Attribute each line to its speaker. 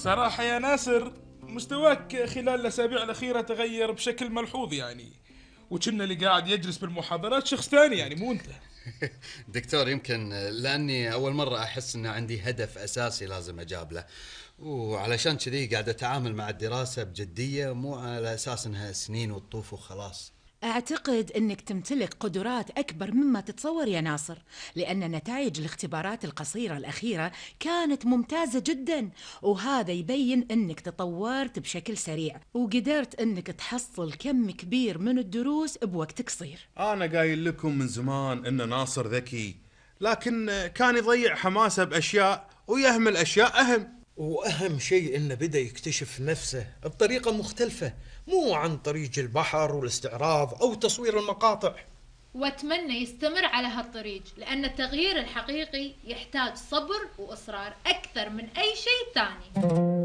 Speaker 1: صراحة يا ناصر، مستواك خلال الأسابيع الأخيرة تغير بشكل ملحوظ يعني، وكنا اللي قاعد يجلس بالمحاضرات شخص ثاني يعني مو أنت.
Speaker 2: دكتور، يمكن لأني أول مرة أحس أن عندي هدف أساسي لازم أجاب له، وعلشان كذي قاعد أتعامل مع الدراسة بجدية، مو على أساس أنها سنين وتطوف وخلاص.
Speaker 3: أعتقد أنك تمتلك قدرات أكبر مما تتصور يا ناصر، لأن نتائج الاختبارات القصيرة الأخيرة كانت ممتازة جدا، وهذا يبين أنك تطورت بشكل سريع وقدرت أنك تحصل كم كبير من الدروس بوقت قصير.
Speaker 4: أنا قايل لكم من زمان إن ناصر ذكي، لكن كان يضيع حماسه بأشياء ويهمل أشياء أهم.
Speaker 5: وأهم شيء إنه بدأ يكتشف نفسه بطريقة مختلفة، مو عن طريق البحر والاستعراض أو تصوير المقاطع.
Speaker 6: واتمنى يستمر على هالطريق، لأن التغيير الحقيقي يحتاج صبر وإصرار أكثر من أي شيء ثاني.